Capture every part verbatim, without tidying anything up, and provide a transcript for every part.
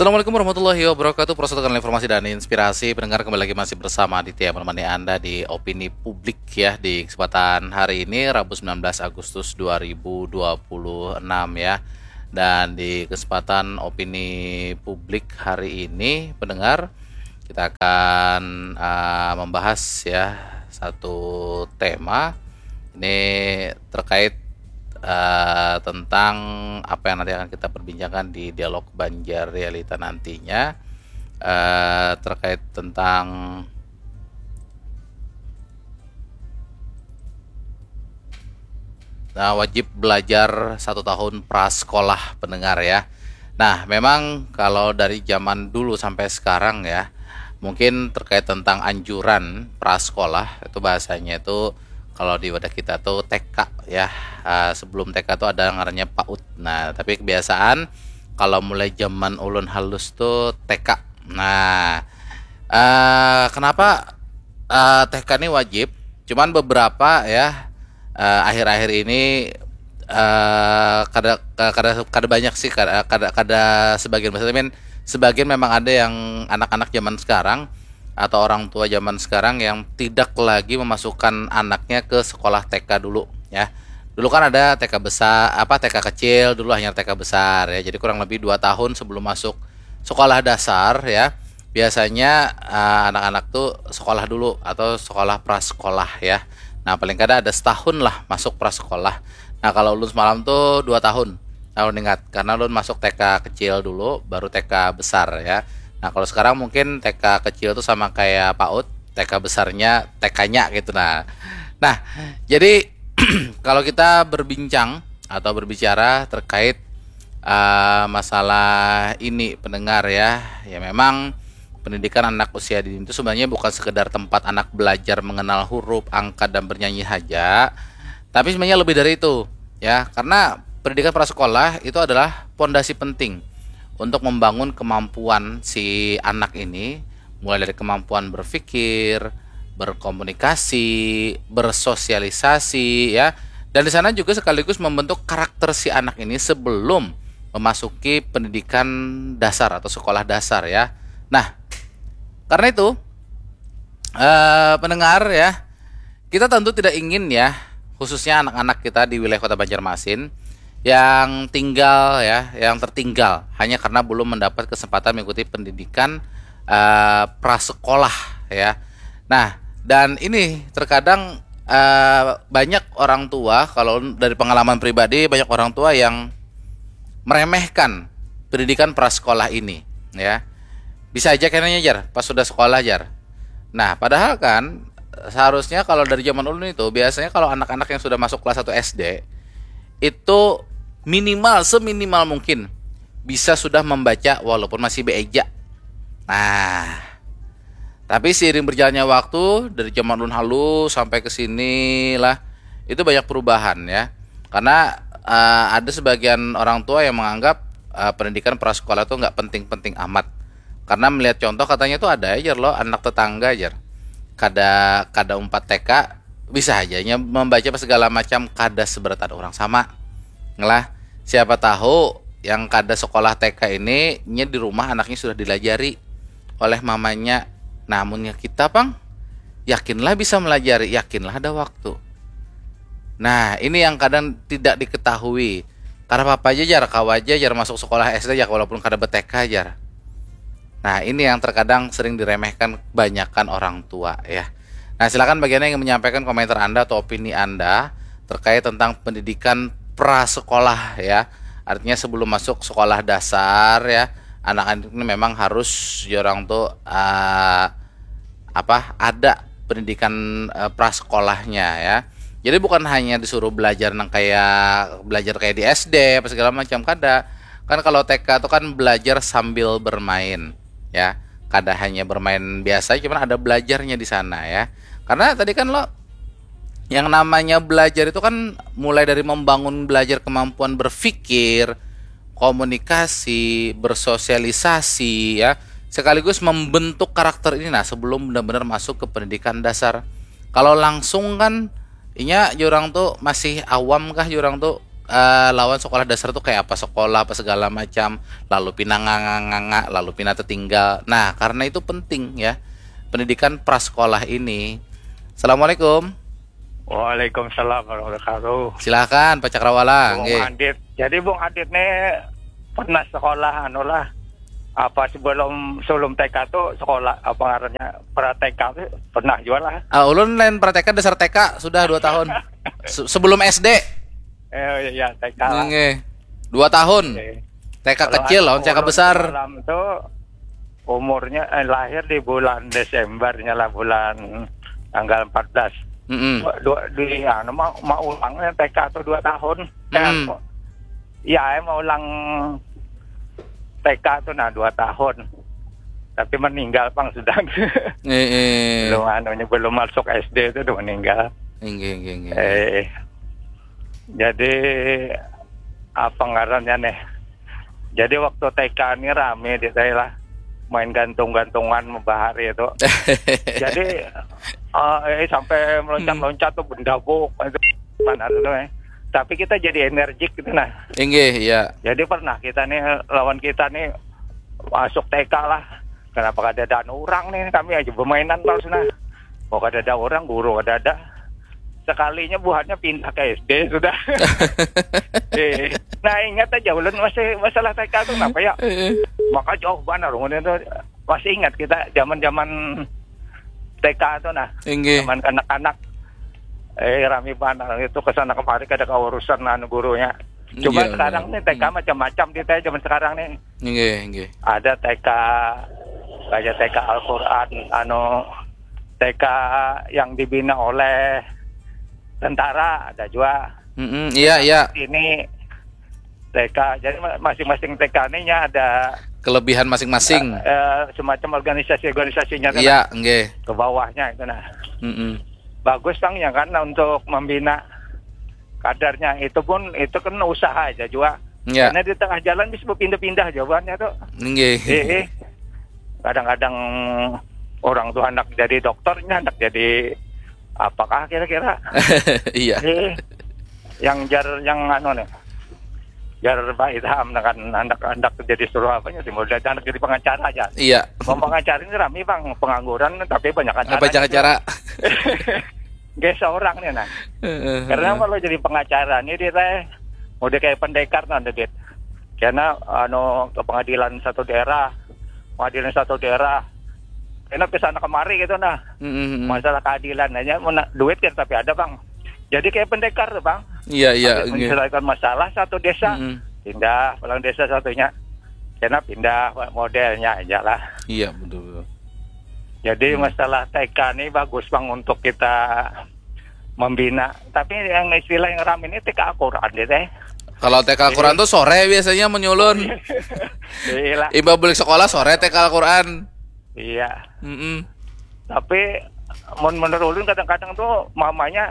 Assalamualaikum warahmatullahi wabarakatuh. Prosotakan informasi dan inspirasi. Pendengar, kembali lagi masih bersama Aditya menemani Anda di Opini Publik ya, di kesempatan hari ini, Rabu, sembilan belas Agustus dua ribu dua puluh enam ya. Dan di kesempatan Opini Publik hari ini, pendengar, kita akan uh, membahas ya satu tema. Ini terkait uh, tentang apa yang nanti akan kita perbincangkan di dialog Banjar Realita nantinya, uh, terkait tentang, nah, wajib belajar satu tahun prasekolah, pendengar ya. Nah, memang kalau dari zaman dulu sampai sekarang ya, mungkin terkait tentang anjuran prasekolah itu, bahasanya itu kalau di wadah kita tuh T K ya. Uh, sebelum T K tuh ada ngarannya PAUD. Nah, tapi kebiasaan kalau mulai zaman ulun halus tuh T K. Nah, uh, kenapa uh, T K ini wajib? Cuman beberapa ya, uh, akhir-akhir ini uh, kada kada kada banyak sih, kada kada, kada sebagian besar, I mean, sebagian memang ada yang anak-anak zaman sekarang atau orang tua zaman sekarang yang tidak lagi memasukkan anaknya ke sekolah T K dulu ya. Dulu kan ada T K besar, apa, T K kecil, dulu hanya T K besar ya. Jadi kurang lebih dua tahun sebelum masuk sekolah dasar ya, biasanya uh, anak-anak tuh sekolah dulu atau sekolah prasekolah ya. Nah, paling kada ada setahun lah masuk prasekolah. Nah, kalau ulun semalam tuh dua tahun, tahun ingat, karena ulun masuk T K kecil dulu, baru T K besar ya. Nah, kalau sekarang mungkin T K kecil tuh sama kayak PAUD, T K besarnya T K-nya gitu. Nah, nah, jadi kalau kita berbincang atau berbicara terkait uh, masalah ini, pendengar ya, ya memang pendidikan anak usia dini itu sebenarnya bukan sekedar tempat anak belajar mengenal huruf, angka, dan bernyanyi saja, tapi sebenarnya lebih dari itu ya, karena pendidikan prasekolah itu adalah pondasi penting untuk membangun kemampuan si anak ini, mulai dari kemampuan berpikir, berkomunikasi, bersosialisasi ya. Dan di sana juga sekaligus membentuk karakter si anak ini sebelum memasuki pendidikan dasar atau sekolah dasar ya. Nah, karena itu, eh, pendengar ya, kita tentu tidak ingin ya, khususnya anak-anak kita di wilayah Kota Banjarmasin yang tinggal ya, yang tertinggal hanya karena belum mendapat kesempatan mengikuti pendidikan uh, prasekolah ya. Nah, dan ini terkadang uh, banyak orang tua, kalau dari pengalaman pribadi, banyak orang tua yang meremehkan pendidikan prasekolah ini ya. Bisa aja kayaknya, jar, pas sudah sekolah, jar. Nah, padahal kan seharusnya kalau dari zaman ulun itu, biasanya kalau anak-anak yang sudah masuk kelas satu S D itu minimal, seminimal mungkin bisa sudah membaca walaupun masih beeja. Nah, tapi seiring berjalannya waktu, dari zaman ulun halus sampai ke sini lah, itu banyak perubahan ya. Karena uh, ada sebagian orang tua yang menganggap uh, pendidikan prasekolah itu nggak penting-penting amat. Karena melihat contoh, katanya tuh ada aja loh anak tetangga aja, kada kada umpat T K, bisa aja nya membaca pas segala macam, kada seberatan orang sama. Ngelah, siapa tahu yang kada sekolah T K ini, nya di rumah anaknya sudah dilajari oleh mamanya. Namunnya kita pang, yakinlah bisa melajari, yakinlah ada waktu. Nah, ini yang kadang tidak diketahui. Karena apa aja, jar, kawa aja, jar, masuk sekolah S D, jar, walaupun kada be-T K, jar. Nah, ini yang terkadang sering diremehkan kebanyakan orang tua ya. Nah, silakan bagi Anda yang menyampaikan komentar Anda atau opini Anda terkait tentang pendidikan prasekolah ya. Artinya sebelum masuk sekolah dasar ya, anak-anak ini memang harus ya orang tuh uh, apa, ada pendidikan uh, prasekolahnya ya. Jadi bukan hanya disuruh belajar nang kayak belajar kayak di S D apa segala macam, kada. Kan kalau T K itu kan belajar sambil bermain ya. Kada hanya bermain biasa, cuman ada belajarnya di sana ya. Karena tadi kan lo, yang namanya belajar itu kan mulai dari membangun, belajar kemampuan berpikir, komunikasi, bersosialisasi ya, sekaligus membentuk karakter ini, nah, sebelum benar-benar masuk ke pendidikan dasar. Kalau langsung kan inya jurang tuh masih awam kah, jurang tuh eh, lawan sekolah dasar tuh kayak apa sekolah, apa segala macam, lalu pina nganga-nganga, lalu pina tertinggal. Nah, karena itu penting ya, pendidikan prasekolah ini. Assalamualaikum. Waalaikumsalam warahmatullahi wabarakatuh. Silahkan Pak Cakrawala. Bung Adit. Jadi Bung Adit nih pernah sekolah anu lah, apa sebelum sebelum T K tuh sekolah apa ngarannya, pra T K tuh pernah juga lah. Ah, ulun lain pra T K, dasar T K sudah dua tahun. Se- sebelum S D. Eh ya T K lah. Nggih. Dua tahun. Oke. T K Kalau kecil anu, lawan T K ulun besar. Semalam tuh umurnya eh, lahir di bulan Desembernya lah, bulan tanggal empat belas. Mm-mm. Dua, dua- di anu mau mau ulangnya T K tuh dua tahun. Hmm. Ya, mau ulang T K tuh nah dua tahun. Tapi meninggal pang sudah. Eh, eh. Belum anunya belum masuk S D itu udah meninggal. Inggih, inggih, inggih. Eh, jadi apa ngarannya nih? Jadi waktu T K ini rame di saya lah, main gantung-gantungan bahari itu. Jadi eh, eh, sampai meloncat-loncat tuh bendabuk itu panas tuh eh. Tapi kita jadi energik gitu nah. Inggih, iya. Jadi pernah kita nih lawan kita nih masuk T K lah. Kenapa kada ada orang nih, kami aja bermainan terus nah. Mau kada ada orang, guru kada ada. Sekalinya buhannya pindah ke S D sudah. Eh, nah ingat aja ulun masih masalah T K tuh kenapa ya? Eh, eh. Maka jauh banget ulun itu masih ingat kita zaman-zaman T K tuh nah. Inggih. Zaman kanak-kanak eh rame banget itu kesana kemari kada keurusan anu gurunya. Cuma Iya, sekarang iya. Nih T K macam-macam di T K zaman sekarang nih. Inggih, inggih. Ada T K kayak T K Al-Quran, anu T K yang dibina oleh tentara ada juga. Mm-mm, iya, iya. Ini T K, jadi ma- masing-masing T K ini nya ada Kelebihan masing-masing. eh, semacam organisasi-organisasinya kan Iya, nggih. Ke bawahnya itu nah. Mm-mm. Bagus tang ya kan untuk membina kadarnya itu pun itu kan usaha aja juga. Iya. Karena di tengah jalan bisa berpindah-pindah jawabannya tuh. Nggih. Eh, eh. Kadang-kadang orang tuh anak jadi dokternya, anak jadi apakah kira-kira? Iya. Eh, yang jar yang anu nih. Jar Pak Ilham dengan anak-anak jadi suruh apanya sih, mau jadi anak jadi pengacara aja. Iya. Mau pengacara ini rame bang, pengangguran tapi banyak acara. Apa cara-cara? Gak seorang nih nah. Heeh, Karena heeh. Kalau jadi pengacara nih dia teh mau dia kayak pendekar nanti dit. Karena anu ke pengadilan satu daerah, pengadilan satu daerah. Enak ke sana kemari gitu nah. Mm-mm. Masalah keadilan aja, mau na- duit kan tapi ada bang. Jadi kayak pendekar tuh bang. Iya, iya, Habis nggih. Menyelesaikan masalah satu desa, Mm-mm. pindah pulang desa satunya. Karena pindah modelnya aja lah. Iya, betul, betul. Jadi Hmm. Masalah T K ini bagus bang untuk kita membina. Tapi yang istilah yang ramai ini T K Al-Quran deh teh. Kalau T K Al-Quran tuh sore biasanya menyulun. Iya lah. Imbah balik sekolah sore T K Al-Quran. Iya. Mm-mm. Tapi mun menurut ulun kadang-kadang tuh mamanya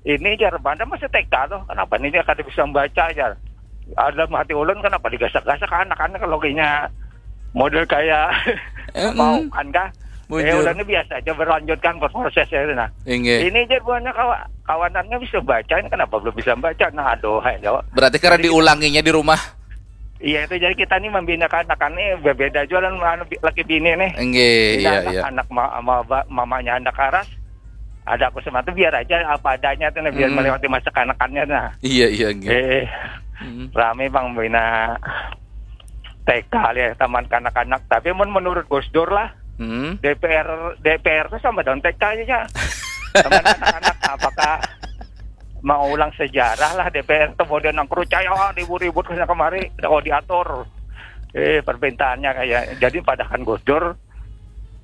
ini jar banda masih T K tuh. Kenapa ini dia kada bisa membaca aja? Ada hati ulun kenapa digasak-gasak anak-anak kalau kayaknya model kayak Eh, mau mm. Kan kah? Bujur. Ya udah ini biasa aja berlanjutkan prosesnya itu nah. Inggih. Ini aja buahnya kawa- kawanannya bisa baca ini kenapa belum bisa baca? Nah aduh hai jawab. Berarti karena diulanginya di rumah. Iya itu jadi kita nih membina anak-anak nih berbeda juga lah anu bi- laki bini nih. Inggih, Ini iya, anak, iya. anak ma- ma- ba- mamanya anak karas, ada aku sama tuh biar aja apa adanya tuh nah, biar Hmm. melewati masa kanak-kanaknya nah. Iya, iya, inggih. Eh, Mm. Rame bang bina T K ya taman kanak-kanak. Tapi mun menurut Gus Dur lah, Mm. D P R D P R tuh sama dengan T K aja. Taman kanak-kanak apakah mau ulang sejarah lah D P R tuh model nang kerucaya ribut-ribut kesana kemari kalau diatur eh perpintaannya kayak jadi padahkan Gus Dur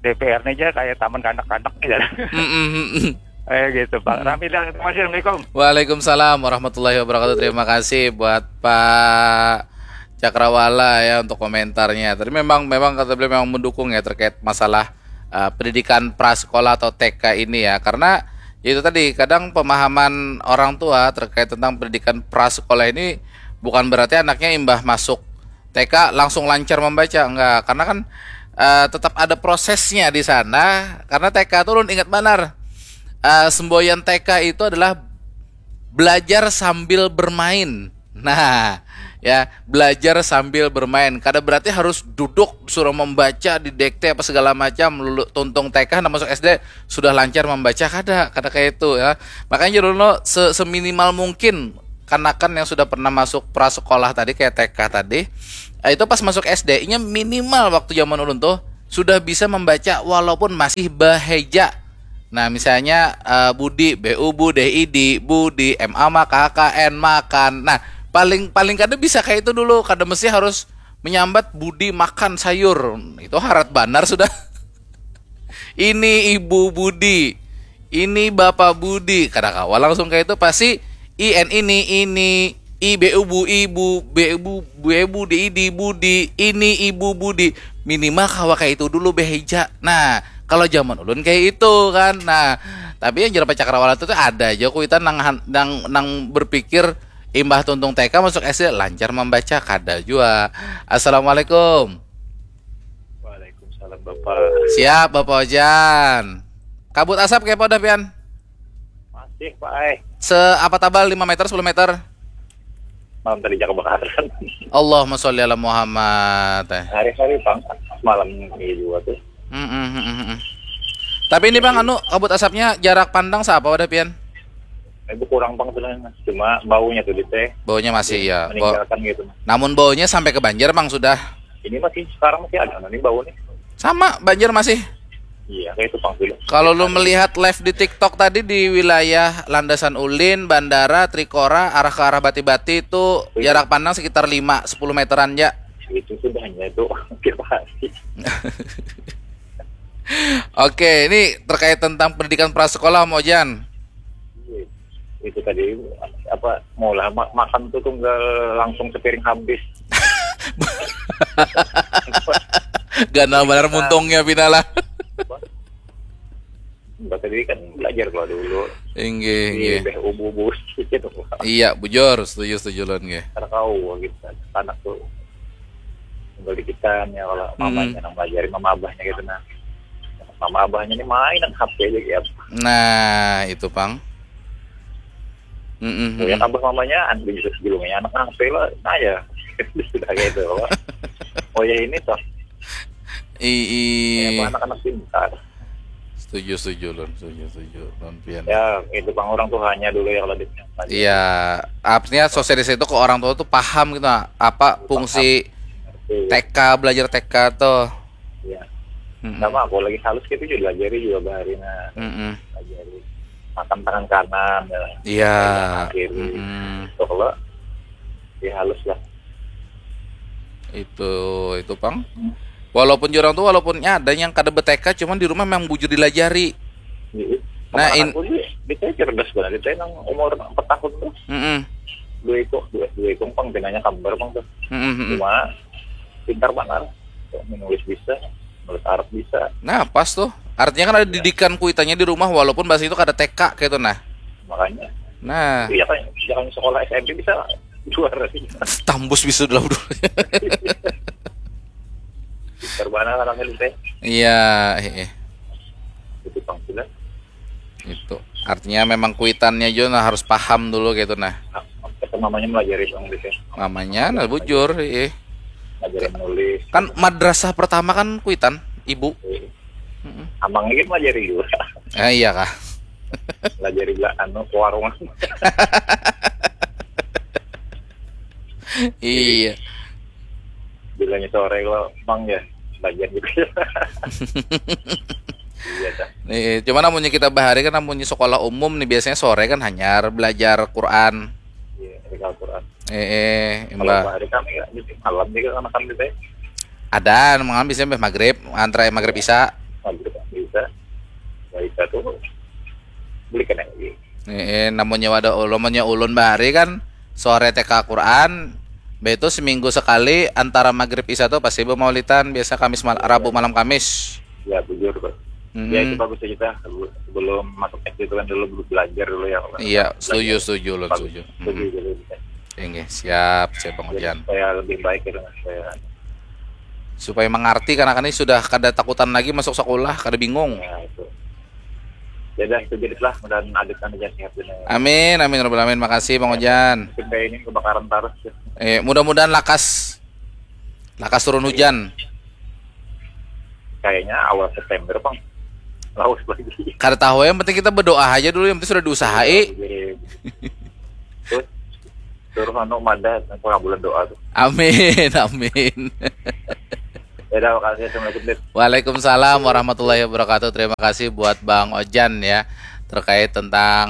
D P R-nya aja kayak taman kanak-kanak gitu. Mm-mm, mm-mm. Eh gitu Pak. Rami dan terima kasih. Assalamualaikum. Waalaikumsalam warahmatullahi wabarakatuh. Terima kasih buat Pak Cakrawala ya untuk komentarnya. Tadi memang memang kata beliau memang mendukung ya terkait masalah uh, pendidikan prasekolah atau T K ini ya. Karena ya itu tadi kadang pemahaman orang tua terkait tentang pendidikan prasekolah ini bukan berarti anaknya imbah masuk T K langsung lancar membaca, enggak, karena kan uh, tetap ada prosesnya di sana. Karena T K tuh ulun ingat banar. Uh, semboyan T K itu adalah belajar sambil bermain. Nah, ya, belajar sambil bermain. Kada berarti harus duduk suruh membaca, didikte apa segala macam, lulu tuntung T K, nah, masuk S D sudah lancar membaca, kada, kada kayak itu, ya. Makanya dulu se seminimal mungkin kanakan yang sudah pernah masuk prasekolah tadi, kayak T K tadi, eh, itu pas masuk S D, inya minimal waktu zaman ulun tuh sudah bisa membaca walaupun masih baheja. Nah, misalnya, eh, Budi, B U, Bu, D I, di, Budi, M A, maka, K N, makan. Nah, paling, paling kada bisa kayak itu dulu, kada mesti harus menyambat Budi makan sayur. Itu harat banar sudah. Ini Ibu Budi, ini Bapak Budi. Kada kawa langsung kayak itu, pasti I N ini, ini, I B U, Bu, Ibu, B U, Bu, Ibu, D I, di, Budi, ini Ibu Budi. Minimal kawa kayak itu dulu, beheja. Nah, kalau zaman ulun kayak itu kan. Nah, tapi yang jerapah cakrawala itu tuh ada aja kuitan nang han- nang nang berpikir imbah tuntung T K masuk S D lancar membaca, kada jua. Assalamualaikum. Waalaikumsalam, Bapak. Siap, Bapak Ojan. Kabut asap kayak apa udah, pian? Masih, Pak, eh. Seapa tabal, lima meter, sepuluh meter? Malam tadi jaga kebakaran. Allahumma sholli ala Muhammad. Eh. Hari-hari, Bang. Semalam ini juga tuh. Mm, mm, mm, mm, mm. Tapi ini, Bang, anu, kabut asapnya jarak pandang seapa wadah pian? Itu kurang, Bang, sebenarnya. Cuma baunya tuh di teh. Baunya masih, ya. Bau- Meninggalkan gitu. Namun baunya sampai ke Banjar, Bang, sudah. Ini masih, sekarang masih ada nih bau nih. Sama, Banjar masih. Iya, kayak itu, Bang, dulu. Kalau lu melihat live di TikTok tadi di wilayah Landasan Ulin, Bandara, Trikora, arah ke arah Bati-Bati itu Iya. Jarak pandang sekitar lima sepuluh meteran, ya. Itu sudahnya itu tiap hari. Oke, ini terkait tentang pendidikan prasekolah, Om Ojan. Iya. Itu tadi apa, mau lah ma- makan tuh tunggal langsung sepiring habis. Ganal banar muntungnya pina lah. Enggak, tadi kan belajar kalau dulu. Inggih, Di inggih. Beh ubu-ubu sedikit tuh. Iya, bujur, setuju, setuju ulun, nggih. Karena kau gitu kan, anak tuh tinggal di kita ya, kalau Hmm. mamanya nang belajarin, mama abahnya gitu, nah. Mama abahnya ini mainan H P aja ya. Nah, itu pang. Mm-mm, Ya, mm-mm. Abah mamanya, anak julungnya anak H P lah, nah ya. Sudah gitu, Pak. Oh ya, ini toh. I, i. Ya, apa, anak-anak pintar. Setuju, setuju, Lun. Setuju, setuju, Lun Pian. Ya, itu, Bang, orang tuanya dulu ya kalau di Iya, artinya sosialisasi itu ke orang tua tuh paham gitu, apa fungsi T K, belajar T K tuh. Iya. Mm-mm. Sama aku lagi halus gitu juga, diajari juga bahari, nah. Mm-mm. Diajari makan tangan kanan ya. Iya. Tangan kiri. Mm-mm. Itu kalau ya halus lah. Itu, itu pang. Walaupun jurang tuh, walaupun ada yang kada be-T K, cuman di rumah memang bujur dilajari. Jadi, Nah, in- aku sih, dia cerdas banget. Dia nang umur empat tahun tuh, Mm-mm. dua ikung, dua, dua ikung pang, pinanya kambar pang tuh. Mm-mm, mm-mm. Cuma pintar banget. Menulis bisa, menulis Arab bisa. Nah, pas tuh. Artinya kan ada didikan kuitannya di rumah, walaupun bahasa itu kada T K kayak itu, nah. Makanya, Nah, iya kan, iya kan, sekolah S M P bisa juara sih. Tambus bisa dalam dulu. Pintar banget anaknya, teh. Iya, eh, eh. Itu pang, sudah. Itu. Artinya memang kuitannya juga, nah, harus paham dulu gitu, nah. Nah, itu mamanya melajari pang, gitu. Mamanya, nah, bujur, eh. Ngajarin nulis. Kan madrasah pertama kan kuitan, ibu. Eh, Mm-mm. Amang ini melajari juga. Eh, iya kah? Melajari bela anu, ke warung. Iya. Bilanya sore kalau, "Bang, ya, belajar gitu." Iya, dah. Nih, cuma namunnya kita bahari kan, namunnya sekolah umum nih, biasanya sore kan hanyar belajar Quran. Iya, dari Al-Quran. Eh, eh, Kalau imbah. Hari kami nggak, jadi malam juga sama kami, teh. Ada, malam bisa mbah maghrib, antara maghrib isya. Maghrib bisa. Nggak bisa tuh. Beli kena lagi. Eh, eh, namunnya wadah ulun, namunnya ulun bahari kan sore T K Quran, be itu seminggu sekali antara maghrib isya tuh pasti bemaulidan, biasa Kamis mal- Rabu malam Kamis. Ya, bujur, Pak. Mm-mm. Ya, itu bagus aja, dah. Sebelum masuk S D itu kan dulu belajar dulu ya, Pak. Iya, Belajar. setuju, setuju, Lun, Bagus. setuju. Setuju, Mm-mm. setuju, setuju. Inggih, siap, siap, Bang Jadi, Ojan. supaya lebih baik gitu, supaya Supaya mengerti, karena kan ini sudah kada takutan lagi masuk sekolah, kada bingung. Ya, itu. Ya dah, itu jadi lah, mudahan adit anu jangan sehat dulu. Amin, amin, rabbal alamin. Makasih, Bang Ojan. Mungkin kayak ini kebakaran terus ya. Eh, mudah-mudahan lakas, lakas turun hujan. Kayaknya awal September, Bang. Laus lagi. Kada tahu, yang penting kita berdoa aja dulu, yang penting sudah diusahai. Jadi, terus suruh anu mada pengabulan doa tuh. Amin, amin. Ya dah, makasih. Assalamualaikum, Dit. Waalaikumsalam warahmatullahi wabarakatuh. Terima kasih buat Bang Ojan ya, terkait tentang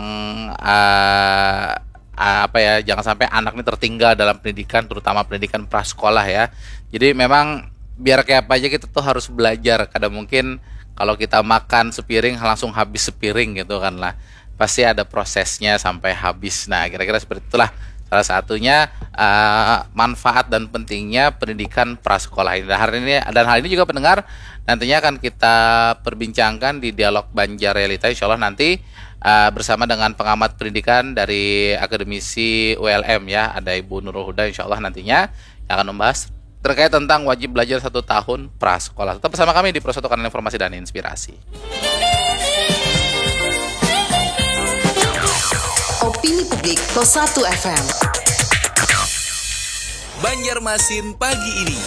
uh, apa ya, jangan sampai anak ini tertinggal dalam pendidikan, terutama pendidikan prasekolah ya. Jadi memang biar kayak apa aja kita tuh harus belajar. Kada mungkin kalau kita makan sepiring langsung habis sepiring gitu kan lah. Pasti ada prosesnya sampai habis. Nah, kira-kira seperti itulah salah satunya uh, manfaat dan pentingnya pendidikan prasekolah ini. Dan hari ini dan hal ini juga, pendengar, nantinya akan kita perbincangkan di Dialog Banjar Realita, insya Allah nanti uh, bersama dengan pengamat pendidikan dari akademisi U L M ya, ada Ibu Nurul Huda, insya Allah nantinya yang akan membahas terkait tentang wajib belajar satu tahun prasekolah. Tetap bersama kami di Persatukan Informasi dan Inspirasi. Opini Publik Kosatu F M. Banjarmasin pagi ini.